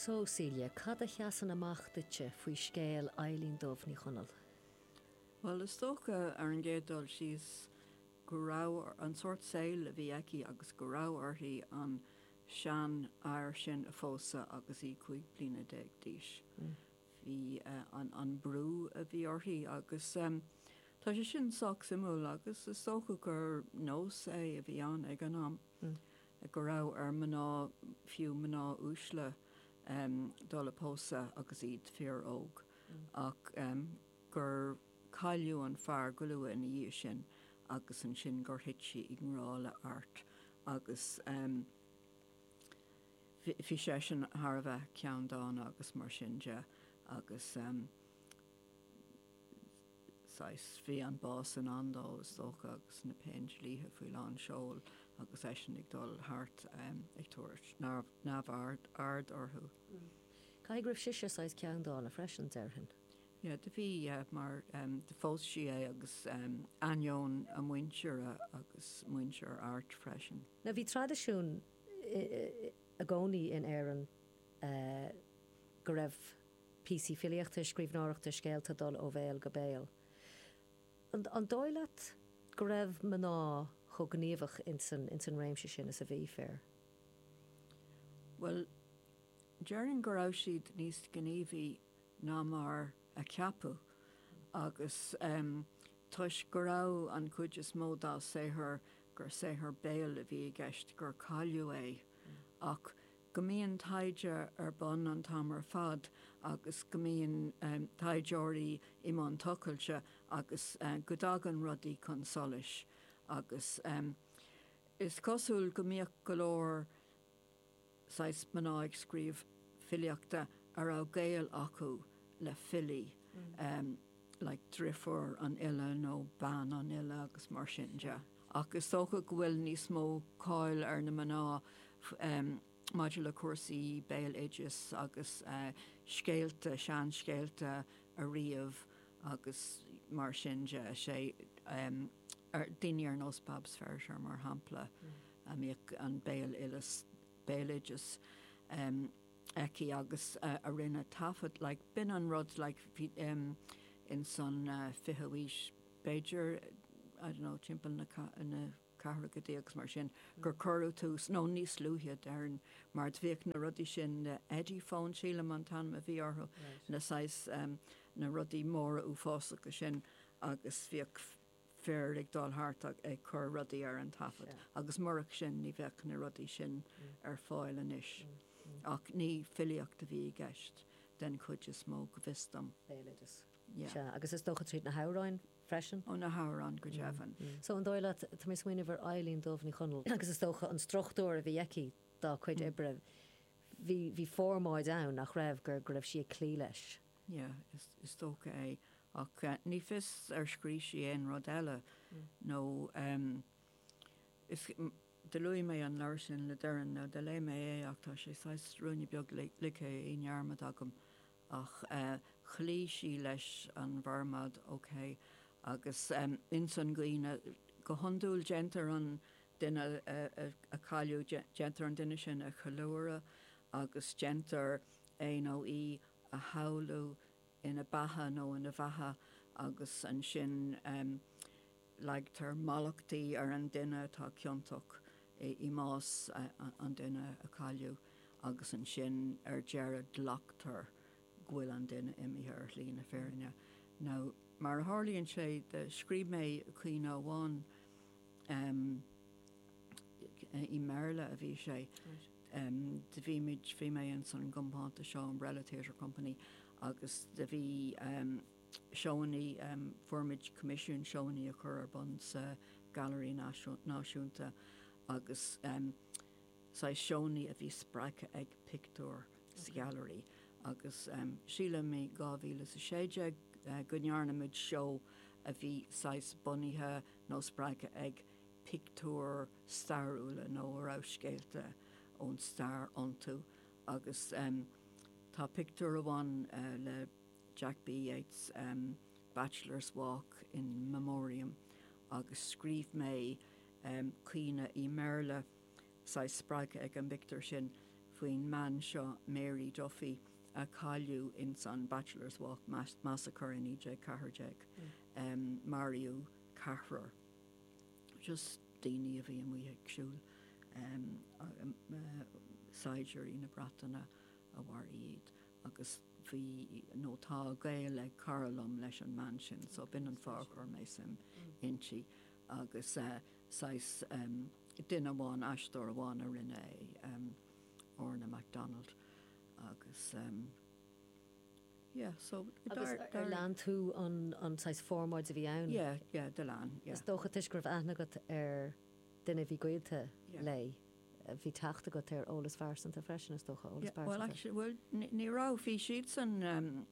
So, Celia, cad a sheasann amach duitse faoi scéal Eilín Dubh Ní Chonaill? Bhuel, is dócha, ar an gcéad dul síos, go raibh, an sórt saoil a bhí aici agus go raibh uirthi an seanfhear sin a phósadh agus í 15 bliana d'aois. Bhí an brú a bhí uirthi agus tá sé sin sách suimiúil agus is dócha gur nós é a bhí ann ag an am. go raibh ar mná, fiú mná uaisle, dul a pósadh agus iad fíor-óg, ach gur cailleadh an fear go luath ina dhiaidh sin agus ansin gur thit sí i ngrá le Art agus bhí seisean thar a bheith ceanndána agus mar sin de agus. saghas, bhí an bás i ndán dó, is dócha, agus na Péindlíthe faoi lán seoil agus eisean ag dul thart ag tabhairt neamhaird orthu. Caithfidh go raibh sise saghas ceanndána freisin, déarfainn. Yeah, do bhí, yeah, mar do phós sí é agus ainneoin a muintire agus muintir Airt freisin. Now bhí traidisiún i gcónaí in Éirinn go raibh píosaí filíochta, scríbhneoireachta, scéalta dul ó bhéal go béal. An dóigh leat go raibh mná chomh gníomhach ins an réimse sin is a bhí fir? Bhuel, déarfainn go raibh siad níos gníomhaí ná mar a ceapadh agus toisc go raibh an chuid is mó dá saothar, gur saothar béil a bhí i gceist, gur cailleadh é. Ach go mbíonn taighde ar bun an t-am ar fad agus go mbíonn taighdeoirí i mbun tochailte agus go dtagann rudaí chun solais agus is cosúil go mbíodh go leor saghas mná ag scríobh filíochta a raibh gaol acu le filí like driofúr an fhile nó bean an fhile agus mar sin de. Ach is dócha go bhfuil níos mó cáil ar na mná maidir le cúrsaí béaloideas agus scéalta, seanscéalta a ríomh agus mar sin de. Sé daoine ar nós Babs Ferriter mar shampla a mbíodh an béaloideas, béaloideas aici agus a rinne taifead like b'in an rud like bhí ins an 20ú aois b'fhéidir I don't know timpeall na na ceathrachaidí agus mar sin, gur cuireadh tús, nó níos luaithe déarfainn, mar do bhíodh na rudaí sin, na Ediphone sílim an t-ainm a bhí orthu, na saghas, na rudaí móra uafásacha sin agus bhíodh fir ag dul thart ag cur rudaí ar an taifead agus murach sin ní bheadh na rudaí sin ar fáil anois. Ach ní filíocht a bhí i gceist den chuid is mó, go bhfios dom. Béaloideas. Sea, agus is dócha tríd na hamhráin freisin? Ó, na hamhráin, go deimhin. So, an dóigh leat, tá mé ag smaoineamh ar Eilín Dubh Ní Chonaill agus is dócha an struchtúr a bhí aici dá cuid oibre, bhí, bhí formáid ann, nach raibh, gur, go raibh sí ag cloí leis? Yeah, is, is dócha é. Ach ní fios ar scríobh sí aon rud eile nó is, do luaigh mé an leabhar sin le Doireann, nó do léigh mé é ach tá sé saghas ruainne beag ligthe i ndearmad agam. Ach chloígh sí leis an bhformáid, ok, agus ins an gcaoineadh, go hiondúil déantar an duine a cailleadh, déantar an duine sin a cheiliúradh agus déantar é nó í a shamhlú ina beatha nó ina bheatha agus ansin leagtar mallachtaí ar an duine atá ciontach i mbás an duine a cailleadh agus ansin ar deireadh glactar go bhfuil an duine imithe ar shlí na fírinne. Now, mar a tharlaíonn sé, scríobh mé caoineadh amháin, i mBéarla a bhí sé, do bhí muid, bhí mé ins an gcompántas seo, Umbrella Theatre Company, agus do bhí, seóannaí, fuair muid coimisiún seóannaí a chur ar bun sa Ghailearaí Náisiúnta agus saghas seóannaí a bhí spreagtha ag pictiúir sa Ghailearaí agus sílim i 2016 go ndearna muid seó a bhí saghas bunaithe nó spreagtha ag pictiúir stairiúla nó a raibh scéalta ón stair iontu agus tá pictiúr amháin le Jack B. Yeats, Bachelor's Walk in Memoriam agus scríobh mé caoineadh i mBéarla, saghas spreagtha ag an bpictiúr sin. faoin mbean seo Mary Duffy a cailleadh ins an Bachelor's Walk Massacre i 1914. Maraíodh ceathrar, just daoine a bhí amuigh ag siúl, saighdiúirí na Breataine a mharaigh iad agus bhí, nó tá gaol ag cara liom leis an mbean sin so b'in an fáth a chuir mé suim inti agus saghas duine amháin, aisteoir amháin a rinne é, Orna McDonald agus yeah so Agus ar lean tú an saghas formáid a bhí ann? Yeah, yeah, do lean, yeah. Is dócha toisc go raibh aithne agat ar duine a bhí gaolta léi, bhí teacht agat ar eolas phearsanta freisin, is dócha, eolas pearsanta. Bhuel actually, bhuel ní raibh, bhí siadsan,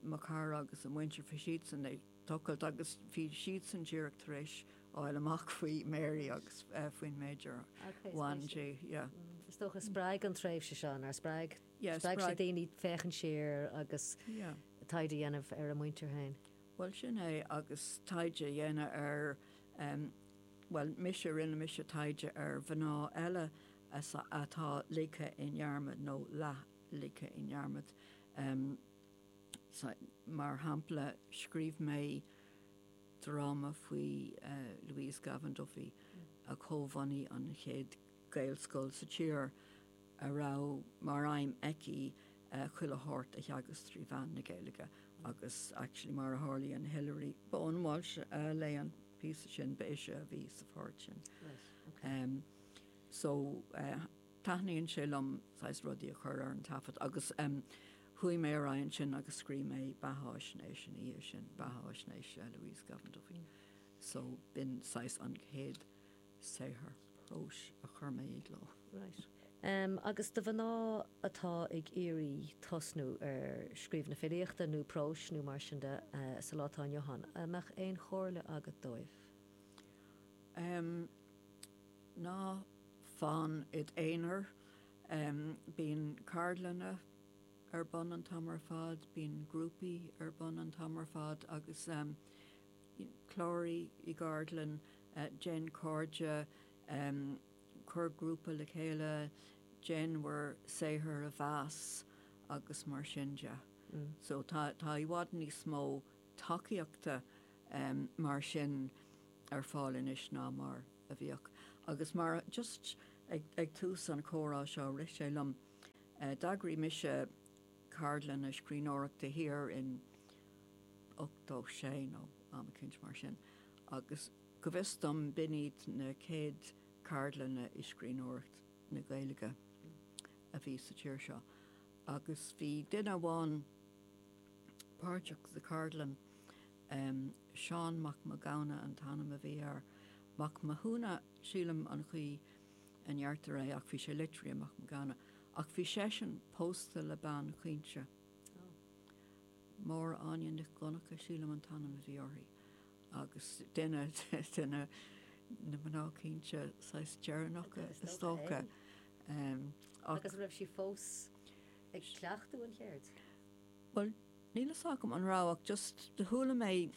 mo chara agus a muintir, bhí siadsan ag tochailt agus bhí siadsan díreach tar éis fháil amach faoi Mary agus faoin méid ar bhain di, yeah. Is dócha spreag an tréimhse seo, nár spreag? Spreag sé daoine féachaint siar agus taighde a dhéanamh ar a muintir féin. Bhuel sin é agus taighde a dhéanamh ar, bhuel mise, rinne mise taighde ar mhná eile atá ligthe i ndearmad nó leath ligthe i ndearmad. Mar shampla scríobh mé dráma faoi Louise Gavan Duffy a chomhbhunaigh an chéad Ghaelscoil sa tír a raibh mar aidhm aici chuile shórt a theagasc trí mheán na Gaeilge agus actually mar a tharlaíonn Hilary Bowen Walsh a léigh an píosa sin, ba ise a bhí sa pháirt sin. So taitníonn sé liom saghas rudaí a chur ar an taifead agus chuaigh mé ar aghaidh ansin agus scríobh mé beatháisnéis ina dhiaidh sin, beatháisnéis Louise Gavan Duffy. So b'in saghas an chéad saothar próis a chuir mé i gcló. Right. Agus do mhná atá ag iarraidh tosnú ar scríobh na filíochta nó próis nó mar sin de sa lá atá inniu ann, an mbeadh aon chomhairle agat dóibh? Ná fan id aonar. Bíonn ceardlanna ar bun an t-am ar fad, bíonn grúpaí ar bun an t-am ar fad agus cláraigh i gceardlann, déan cairde, cuir grúpa le chéile, déan bhur saothar a mheas agus mar sin de. So tá i bhfad níos mó tacaíochta mar sin ar fáil anois ná mar a bhíodh. Agus mar, just ag tús an chomhrá seo, rith sé liom, d'eagraigh mise ceardlanna scríbhneoireachta thiar in 86 nó am eicínt mar sin agus go bhfios dom b'in iad na chéad cheardlanna i scríbhneoireacht na Gaeilge a bhí sa tír seo agus bhí duine amháin páirteach sa cheardlann, Seán Mac Mathghamhna an t-ainm a bhí air, Mac Mathúna sílim an chaoi a ndeirtear é ach bhí sé litrithe Mac Mathghamhna, ach bhí seisean pósta le bean chaointe. Máire Áine Nic Dhonncha, sílim an t-ainm a bhí uirthi, agus duine de na mná caointe saghas deireanacha is dócha. Agus an raibh sí fós ag cleachtadh an cheird? Bhuel, níl fhios agam an raibh ach just do chuala mé,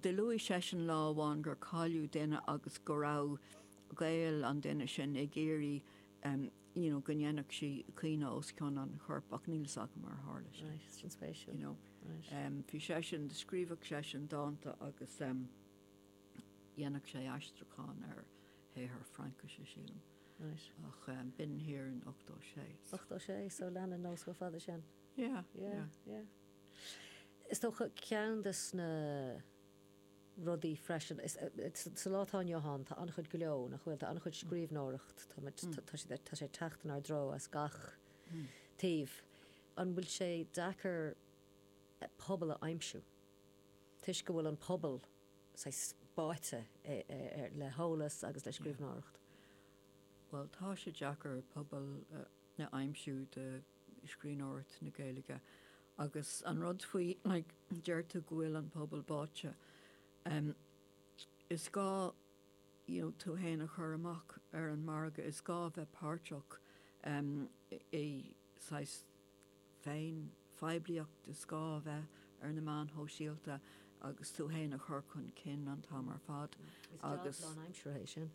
do luaigh seisean lá amháin gur cailleadh duine agus go raibh gaol an duine sin ag iarraidh you know go ndéanfadh sí caoineadh os cionn an choirp ach níl fhios agam ar tharla sin. Right, sin spéisiúil. You know. Right. Bhí seisean, do scríobhadh seisean dánta agus dhéanadh sé aistriúchán ar shaothar Fraincise, sílim. Right. Ach b'in thiar in 86. 86, so lean an nós chomh fada sin. Yeah, yeah. Yeah, yeah. Is dócha ceann de na rudaí freisin, sa lá atá inniu ann, tá an-chuid gleo, nach bhfuil? Tá an-chuid scríbhneoireacht, tá sé tá sé ag teacht inár dtreo as gach taobh. An bhfuil sé deacair pobal a aimsiú toisc go bhfuil an pobal saghas báite le heolas agus le scríbhneoireacht? Bhuel, tá sé deacair pobal a aimsiú do scríbhneoireacht na Gaeilge agus an rud faoi, like, deir tú go bhfuil an pobal báite, em, is gá, you know, tú fhéin a chur amach ar an margadh, is gá a bheith páirteach, em, i saghas féin phoiblíocht, is gá a bheith ar na meáin shóisialta agus tú fhéin a chur chun cinn an t-am ar fad Is job agus. lánaimseartha é sin.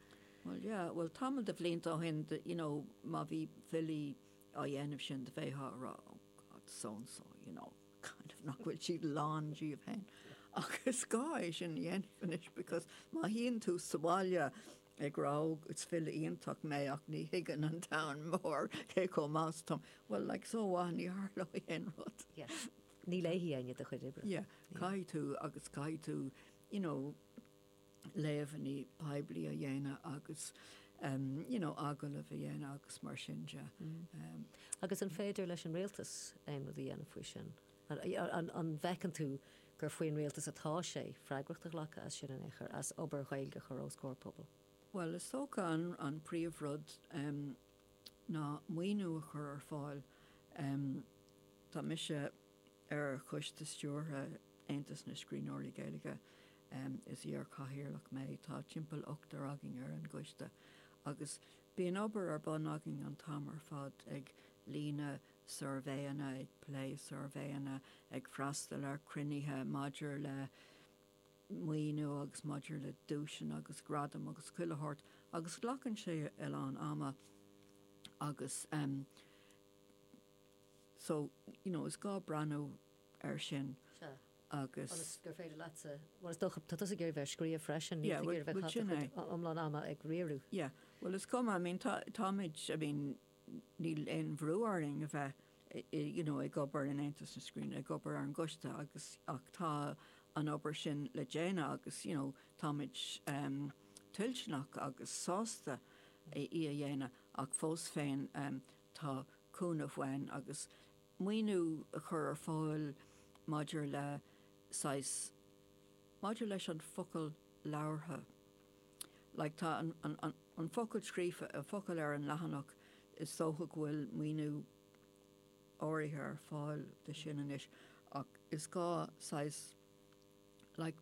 Bhuel, yeah, bhuel tamall de bhlianta ó shin, you know, má bhí filí. á dhéanamh sin do bheifeá ag rá oh God so and so you know kind of nach bhfuil siad lán díobh féin. Ach is gá é sin a dhéanamh anois because má shuíonn tú sa bhaile ag rá oh is file iontach mé ach ní thuigeann an domhan mór cé chomh maith is atáim, well like so what ní tharlóidh aon rud. Yeah. Ní léifidh éinne do chuid oibre. Yeah, caithfidh tú agus caithfidh tú you know léamhanna poiblí a dhéanamh agus you know agallaimh a dhéanamh agus mar sin de. Agus an féidir leis an rialtas aon rud a dhéanamh faoi sin? An bhfeiceann tú gur faoin rialtas atá sé freagracht a ghlacadh as sin in aon chor, as obair Ghaeilge a chur os comhair pobail? Bhuel, is dócha an príomhrud ná maoiniú a chur ar fáil. Tá mise ar choiste stiúrtha Aontas na Scríbhneoirí Gaeilge. Is iar-chathaoirleach mé. Tá timpeall ochtar againn ar an gcoiste agus bíonn obair ar bun againn an t-am ar fad ag líonadh suirbhéanna, ag plé suirbhéanna, ag freastal ar chruinnithe maidir le maoiniú agus maidir le duaiseanna agus gradaim agus chuile shórt agus glacann sé a lán ama agus so you know is gá breathnú air sin agus. Ionas gur féidir leatsa, bhuel is dócha, tá tusa ag iarraidh bheith ag scríobh freisin, níl tú ag iarraidh bheith ag caitheamh do chuid iomlán ama ag riaradh. Yeah, bhuel is cuma, I mean tá, táimid, I mean níl aon bhrú orainn a bheith you know ag obair in Aontas na Scríbhneoirí, ag obair ar an gcoiste agus ach tá an obair sin le déanamh agus you know táimid um, toilteanach agus sásta í a dhéanamh ach fós féin um, tá cúnamh uainn agus maoiniú a chur ar fáil maidir le saghas, maidir leis an focal labhartha. Like tá an, an, an, an focal scríofa, an focal ar an leathanach, is dócha go bhfuil maoiniú áirithe ar fáil do sin anois ach is gá saghas, like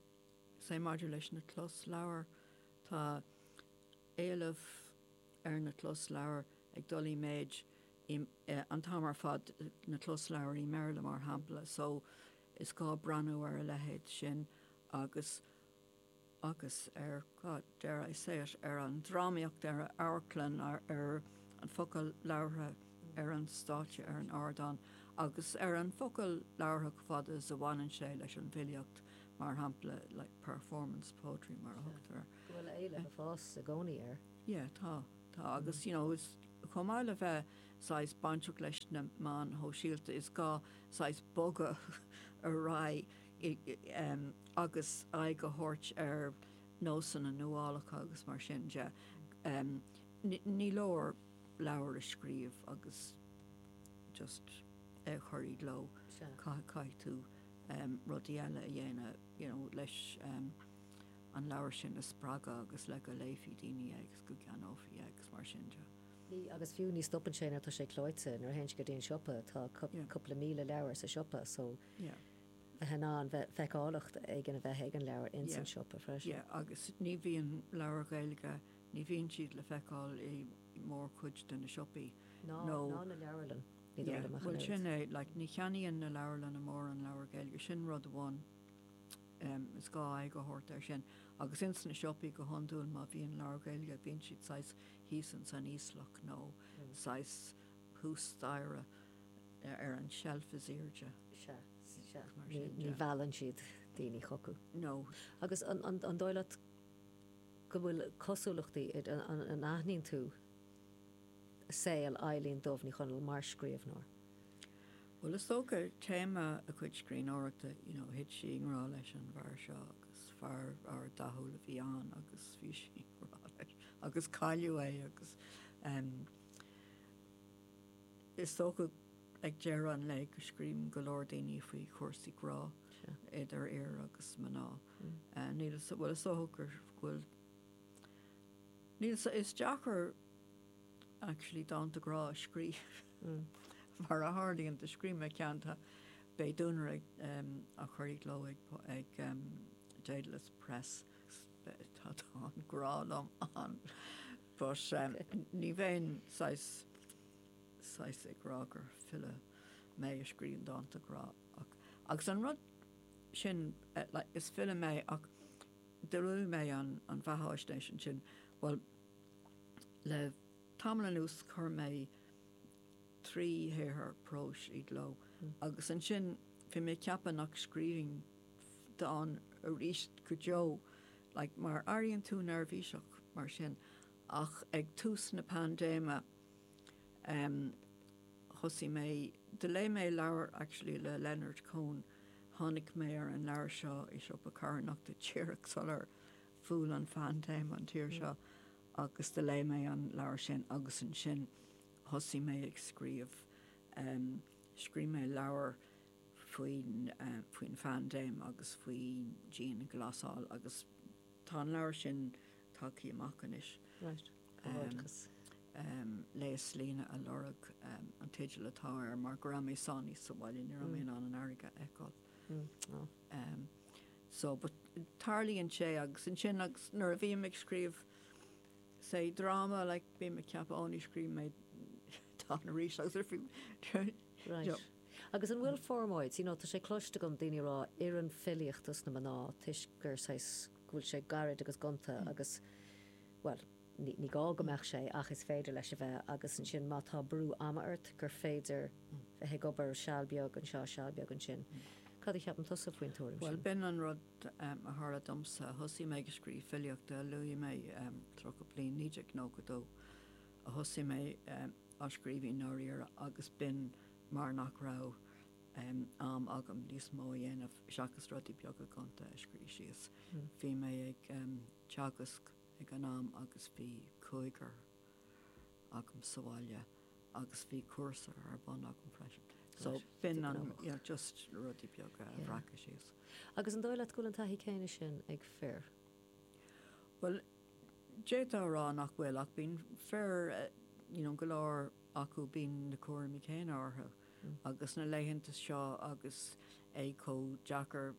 say maidir leis na closleabhair, tá éileamh ar na closleabhair ag dul i méid an t-am ar fad, na closleabhair i mBéarla mar shampla, so is gá breathnú ar a leithéid sin agus agus ar, God, dare I say it, ar an drámaíocht, ar an amharclann, ar an focal labhartha ar an stáitse, ar an ardán agus ar an focal labhartha chomh fada is a bhaineann sé leis an bhfilíocht, mar shampla, like performance poetry mar a thugtar air. Go bhfuil éileamh ag fás i gcónaí air. Yeah, tá, tá agus you know is chomh maith le bheith saghas bainteach leis na meáin shóisialta is gá saghas bogadh ar aghaidh agus aghaidh a thabhairt ar nósanna nuálacha agus mar sin de. Ní leor leabhar a scríobh agus just é a chur i gcló. Caithfidh tú rudaí eile a dhéanamh you know leis an leabhar sin a spreagadh agus le go léifidh daoine é agus go gceannófaí é agus mar sin de. Ní, agus fiú ní stopann sé nuair atá sé clóite, nuair a théann sé go dtí an siopa tá cúpla 1,000 leabhar sa siopa so bheith in ann bheith, feiceálacht éigin a bheith ag an leabhar ins an siopa freisin. Yeah, agus ní bhíonn leabhair Ghaeilge, ní bhíonn siad le feiceáil i mórchuid de na siopaí. Ná, ná na leabharlann, ní dóigh liom ach an oiread. Bhuel sin é, like ní cheannaíonn na leabharlanna mórán leabhar Gaeilge, sin rud amháin. Is gá aghaidh a thabhairt air sin. Agus ins na siopaí go hiondúil má bhíonn leabhair Ghaeilge bíonn siad saghas thíos ins an íoslach nó saghas thuas staighre ar an tseilf is airde. Sea, sea. Ní mheallann siad daoine chucu. No. Agus an dóigh leat go bhfuil cosúlachtaí, an aithníonn tú saol Eilín Dubh Ní Chonaill mar scríbhneoir? Bhuel, is dócha, téama a cuid scríbhneoireachta, you know, thit sí i ngrá leis an bhfear seo agus fear ard-dathúil a bhí ann agus bhí sí i ngrá leis agus cailleadh é agus em is dócha ag deireadh an lae go scríobhann go leor daoine faoi chúrsaí grá idir fhir agus mná. Níl a fhios, bhuel is dócha gur, go bhfuil, níl a fhios, is deacair actually dánta grá a scríobh. Mar a tharlaíonn, do scríobh mé ceann, tá Beidh Duanaire á chur i gcló ag Dedalus Press. Tá dán grá liom ann. But ní bheinn saghas, saghas ag rá gur file mé a scríobhann dánta grá ach, agus an rud sin, like, is file mé ach do luaigh mé an bheatháisnéis ansin, bhuel, le tamall anuas chuir mé. 3 shaothar próis i gcló agus ansin bhí mé ag ceapadh nach scríobhfainn dán arís go deo, like, mar airíonn tú neirbhíseach mar sin ach ag tús na paindéime em thosaigh mé, do léigh mé leabhar actually le Leonard Cohen, tháinig mé ar an leabhar seo i siopa carthanachta díreach sular bhuail an phaindéim an tír seo agus do léigh mé an leabhar sin agus ansin thosaigh mé ag scríobh. Scríobh mé leabhar faoin faoin phaindéim agus faoin dianghlasáil agus tá an leabhar sin tagtha amach anois. Right. Comhghairdeachas. Léaslíne a Lorg an teideal atá air mar go raibh mé sáinnithe sa bhaile, ní raibh mé in ann an fharraige a fheiceáil. So, but tarlaíonn sé agus ansin agus nuair a bhím ag scríobh say dráma like bím ag ceapadh ó ní scríobhfaidh mé dán arís agus ar Right. You know. Agus an bhfuil formáid, you know, tá sé cloiste agam daoine ag rá oireann filíocht dos na mná toisc gur saghas go bhfuil sé gairid agus gonta agus bhuel, ní, ní gá go mbeadh sé ach is féidir leis a bheith agus ansin má tá brú ama ort gur féidir bheith ag obair seal beag anseo, seal beag ansin. Cad a cheapann tusa faoin tuairim sin? Bhuel, b'in an rud a tharla domsa. Thosaigh mé ag scríobh filíochta, luaigh mé 30 bliain, 1992 a thosaigh mé á scríobh i ndáiríre agus b'in mar nach raibh am agam níos mó a dhéanamh seachas rudaí beaga gonta a scríobh síos. Bhí mé ag teagasc ag an am agus bhí cúigear agam sa bhaile agus bhí cúrsa ar bun agam freisin. So b'in an, yeah, just rudaí beaga a bhreacadh síos. Agus an dóigh leat go bhfuil an taithí céanna sin ag fir? Bhuel, d'fhéadfá a rá nach bhfuil ach bíonn fir, you know, go leor acu bíonn na cúraimí céanna orthu agus na laethanta seo agus é chomh deacair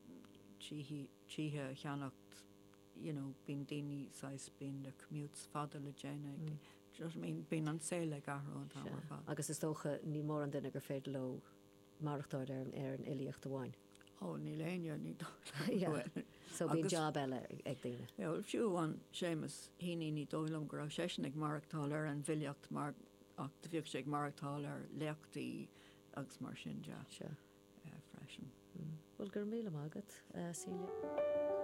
tithe a cheannacht, you know, bíonn daoine saghas, bíonn na commutes fada le déanamh ag daoine, do you know what I mean, bíonn an saol ag athrú an t-am ar fad. Agus is dócha, ní mórán duine gur féidir leo maireachtáil ar an ar an fhilíocht amháin. Ó, níl éinne, ní dóigh liom go bhfuil. So bíonn job eile ag daoine. Yeah, bhuel, fiú amháin Séamus Heaney, ní dóigh liom go raibh seisean ag maireachtáil ar an bhfilíocht mar ach do bhíodh sé ag maireachtáil ar léachtaí agus mar sin de. Sure. Freisin. Bhuel, go raibh míle maith agat, Celia.